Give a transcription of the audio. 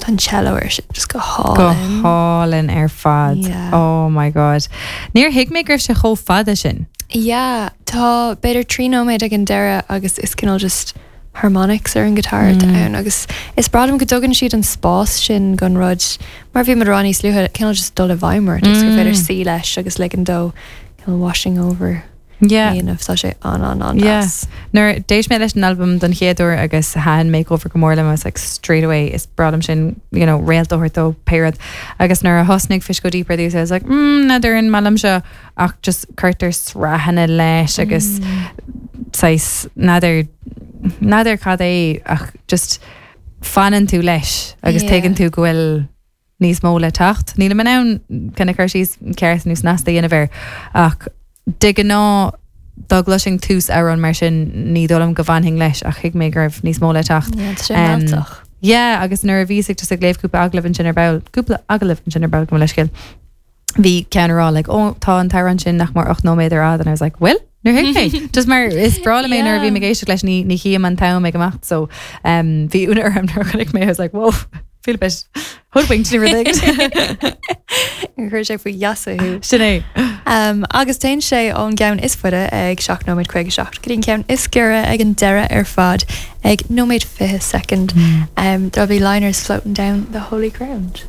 Tá an cello air sin just go Go hálainn. hálainn ar fad. Yeah. Oh my god. Níor thuig mé go raibh sé chomh fada sin. Yeah, tá b'fhéidir 3 nóiméad ag an deireadh agus is cineál just harmonics ar an guitar atá ann agus is breá liom go dtugann siad an spás sin don rud mar bhí muid ag rá níos luaithe cineál just dul i bhfeidhm ort agus gur féidir suí leis agus ligean dó cineál washing over Yeah. a dhéanamh. Tá sé an an an Yeah. deas. Nuair d'éist mé leis an albam don chéad uair agus thaitin Makeover go mór liom, I was like straight away is breá liom sin, you know, réalt a thabhairt dó pé rud. Agus nuair a thosnaigh Fish Go Deep ar dtús, I was like, mm, n'fheadar an maith liom seo ach just cuirtear sraitheanna leis agus saghas n'fheadar n'fheadar cad é ach just fanann tú leis agus Yeah. tuigeann tú go bhfuil níos mó le teacht. Nílim in ann kind of cur síos ceart nó snasta a dhéanamh air ach de ghnáth dá gcloisfinn tús amhrán mar sin ní dóigh liom go bhfanfainn leis ach thuig mé go raibh níos mó le teacht. Yeah, tá sé Um, mealltach. Yeah, agus nuair a bhíos ag just ag léamh cúpla agallamh ansin ar ball, cúpla agallamh ansin ar ball gabh mo leithscéal. Bhí ceann ag rá like, oh, tá an t-amhrán sin nach mór 8 nóiméad ar fhad and I was like, bhfuil? Níor thuig mé. Just mar is breá liom é nuair a bhím ag éisteacht leis ní ní chím an t-am ag imeacht so um, bhí ionadh orm nuair a chonaic mé I was like, whoa, feel a bit hoodwinked ní rud éigin. Chuir sé faoi gheasa thú. Sin é. Um, agus téann sé ón gceann is faide ag 7 nóiméad 57 go dtí an ceann is giorra ag an deireadh ar fad ag nóiméad 20 soicind. Um, there'll be liners floating down the holy ground.